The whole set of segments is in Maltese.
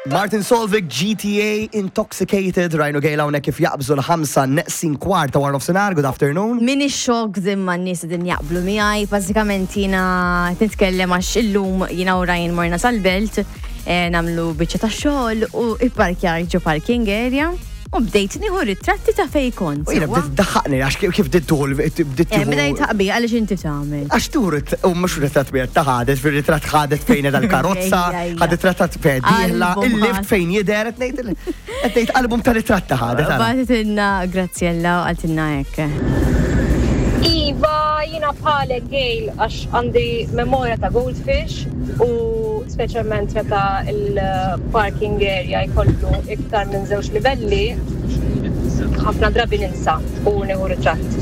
Martin Solvik, GTA Intoxicated, Ryan u Gail hawnhekk kif jaqbżu l-ħamsa neqsin kwarta wara nofsinhar, good afternoon. Min ix-xokk imma n-nies din jaqblu miegħi, bażikament jiena nitkellem għax illum jiena u Ryan morna sal-belt eh, nagħmlu biċċa ta' xogħol u ipparkjar ġo parking area u bdejt nieħu ritratti ta' fej kont. U jiena bdiet daħħaqni għax kif bdiet tuħu bdiet eh, Bdejt taqbi għaliex inti tagħmel. Għax tuħu u mhux ritratt wieħed ta' ħadet fir-ritratt ħadet fejn qiegħda l-karozza, ħadet ritratt fejn dieħla, il-lift fejn jidher qed ngħid qed ngħid album ta' ritratt ta' ħadet. Bagħtitilna Graziella u qaltilna hekk. Iva, jiena bħalek Gail għax għandi memorja ta' goldfish u speċjalment meta l-parking area jkollu iktar minn żewġ livelli, ħafna drabi ninsa u nieħu ritratt.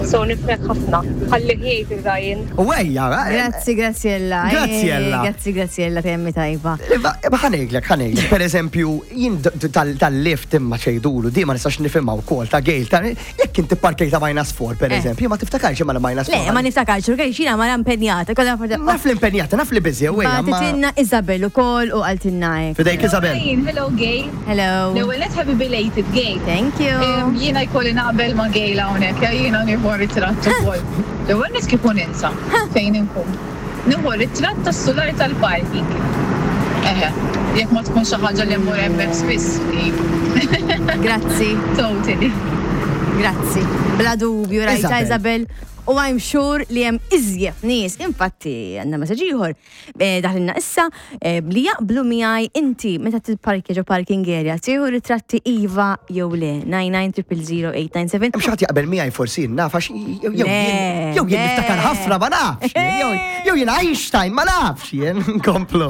So nifhmek ħafna. Ħallih jgħid il-Ryan. U ejja, eh, Grazzi, Graziella. Graziella. Eh, grazzi, Graziella, temmi tajba. Ma ħanejlek, ħanejlek. Per eżempju, jien tal-lift imma ċejdulu, di ma nistax nifhimha wkoll ta' gejl ta' Jekk inti parkejta minus 4, per eh. eżempju, ma tiftakarx imma minus 4. Le, ma niftakarx, u xina ma impenjata. Naf l-impenjata, naf li busy, u għajja. Bagħtitilna Isabel ukoll u qaltilna hekk. Fidejk Isabel. Hello, Gail. Hello. L-ewwel net happy belated, Gail. Thank you. Jiena jkolli naqbel ma' Gail hawnhekk, jiena nieħu ritratt ukoll. L-ewwel net kieku ninsa fejn inkun. Nieħu ritratt tas-sular tal-parking. Eħe, jekk ma tkun xi ħaġa li mmur hemmhekk spiss, iva. Grazzi. Totally. Grazzi. Bla dubju rajta Isabel. U I'm sure li hemm iżjed nies, infatti għandna messaġġ ieħor eh, daħlilna issa eh, li jaqblu miegħi inti meta tipparkja ġo parking area tieħu ritratti iva jew le 99000897. Hemm xi ħadd jaqbel miegħi forsi naf għax jew jien jew jien niftakar ħafna ma nafx. Jew jien Einstein ma nafx jien nkomplu.